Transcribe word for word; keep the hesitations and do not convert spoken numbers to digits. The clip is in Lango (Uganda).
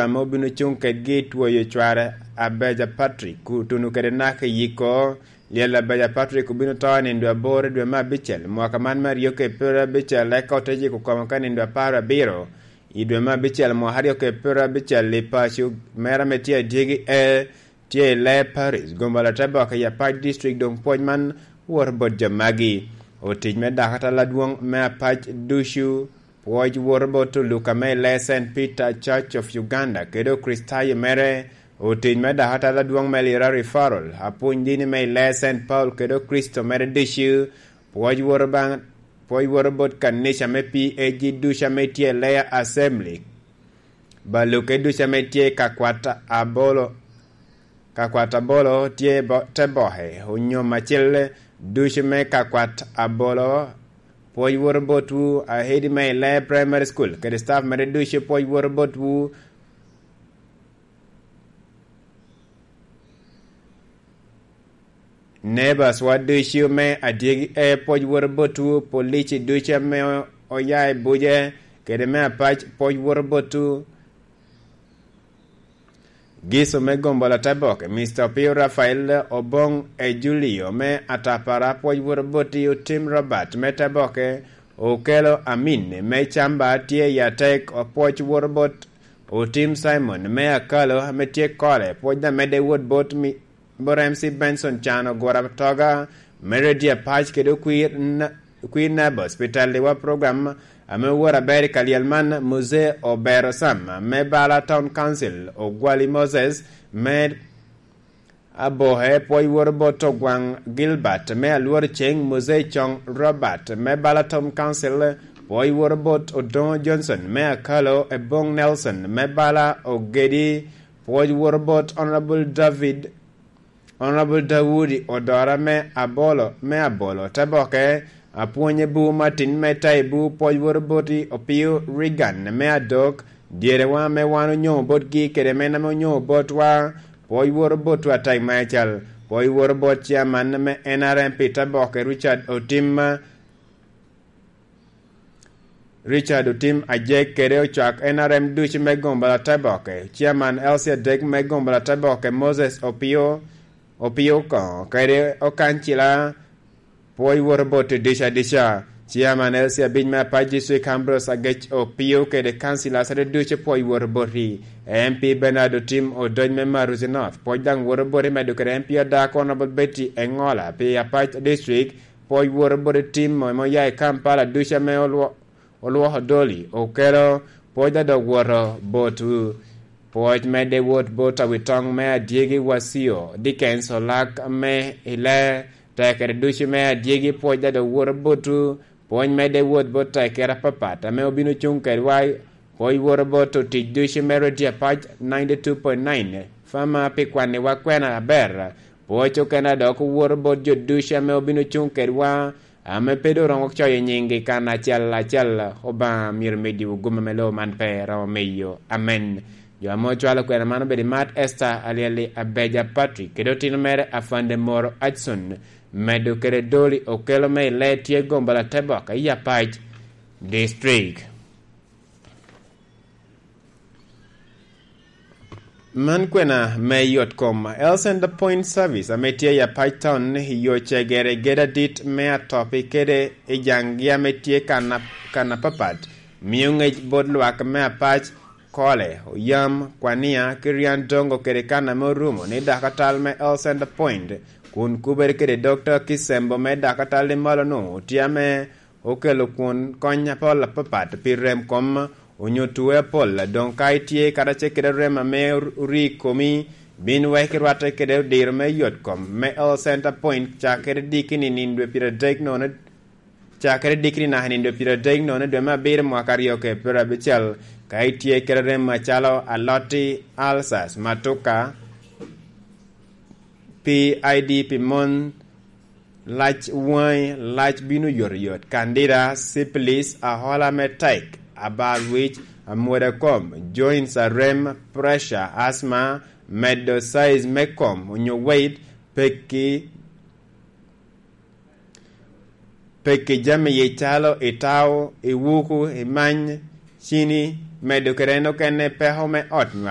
ame obino cuŋ kedgi i twoyo cware Abeja Patrick, ku-, tuno kede naka i yiko. Lyel Abeja Patrick obino to i nino dwe aboro i dwe me abicel, mwaka man me aryo kede pyerabicel, eka ote ciko kome ka nino dwe apar abiro i dwe me abicel, mwaka aryo kede pyerabicel, i paco mere ame tye adyegi e, tye i Lea Parish, gombolote boke i Apac District. Doŋ pwoc man woro bot jo magi. Otic me dakatala adwoŋ me Apac ducu, pwoc woro bot oluka me i Lea Saint Peter Church of Uganda kede Okricitayo mere. Otic me dakatala adwoŋ me Lira Referral, apwony dini me i Lea Saint Paul kede Okricito mere ducu, pwoc woro baŋ, pwoc woro bot kanica me P A G ducu ame tye i Lea Assembly. Baluke ducu ame tye ka kwat abolo, ka kwat abolo tye bo-, te boke, onyo macel ducu me ka kwat abolo, pwoc woro botwu, ahedi me i Lea Primary School, kede staff mere ducu, pwoc woro botwu. Neighbors wa ducu me adyegi e, pwoc woro botwu, polici ducu ame o-, oya i buce, kede me Apac, pwoc woro botwu. Giso me gombolote boke, Mister Opio Raphael Oboŋ e Julio me Atapara, pwoc woro boti, Otim Robert me Teboke, Okelo Amin me Camba tye i Atek, pwoc woro bot Otim Simon me Akalo ame tye Kole, pwoc da medde wot bot mi-, bot M C Benson Can Ogura Toga, Meredia Pac kede okwir na-, kwir Nabos pi telliwa program ame owor aber i kalyel man, Muse Obero Sam me Bala Town Council, Ogwali Moses me Aboke, pwoc woro bot Ogwaŋ Gilbert me Alwor Ceŋ, Mose Coŋ Robert me Bala Town Council, pwoc woro bot Odoŋo Johnson me Akalo, Eboŋ Nelson me Bala Ogedi, pwoc woro bot Honorable David, Honorable Daudi Odora me Abolo, me Abolo, te boke, apwonye bu Martin me Taibu, pwoc woro boti Opio Reagan me Adok, dyerewa ame wan onyomo botgi kede men ame onyomo botwa, pwoc woro botwa atek meicel, pwoc woro bot chairman me N R M P te boke Richard Otim, Richard Otim Ajek kede ocwak N R M ducu me gombolote aboke, Chairman L C adek me gombolote aboke, Moses Opio, Opio Okoŋo kede okancila, pwoc woro bot ducu aduca. Chairman L C abic me Apac District, Ambrose Agec Opio kede kancila sate ducu, pwoc woro boti. M P Bernard Otim Odony me Maruzi North, pwoc daŋ woro boti, medo kede M P Adako Honorable Betty Engola pi Apac District, pwoc woro bot tim ame oya i Kampala ducu ame olwo-, olwoko Doli, okelo pwoc a dok woto botwu. Pwoc medde wot bot awitoŋ me adyegi Wasio, Dickens Olak me Ile, tekere ducu me adyegi, pwoc a dok woto botwu. Pwoc medde wot bot tekere apapat ame obino cuŋ kedwa, pwoc woto bot otic ducu me Radio Apac ninety two point nine Fama pi kwanniwa kwena aber. Pwoc okene a dok owoto bot jo ducu ame obino cuŋ kedwa, ame pe doŋ romo coyo nyiŋgi kan acel acel. Obaŋa myero meddiwu gum ame lobo man pe romo miyo. Amen. Jo ame ocwalo kwena man obedo i Mat Esther Alyeli Abeja Patrick kede otino mere Afande Moro Hudson, medo kede Doli Okelo me Ile tye gombolote boke i Apac District. Man kwena me yot kom. Health Center Point Service ame tye i Apac Town i yo cegere gedo adit me Atopi kede i jaŋgi ame tye kan a-, kan apapat, mio ŋec bot lwak me Apac, Kole, Oyam, Kwania, ki Ryan Dongo kede kan ame orumo ni dakatal me Health Center Point, kun kubere kede Dokta Kisembo me dakatal i malo-nu tye ame okelo kwon kony apol apapat pi rem kom onyo tuwe apol. Doŋ ka itye karacel kede rem ame ori i komi, bin wek irwatte kede odiro me yot kom me Health Center Point cakere dikini nino dwe pyeradek nono, cakere dikini naka nino dwe pyeradek nono dwe me abiro mwaka aryo kede pyerabicel. Ka itye kede rem macalo aloti, ulcers, matuka, P I D pi mon, lac waŋi, lac bino yotoyot, kandida, syphilis, ahola me tek, abar wic, amwoda kom, joints a rem, pressure, asthma, medo size me kom onyo weight, pekki, pekki jami yi calo itao, iwuku, imany, cini, medo kede en okene peko me ot nywal.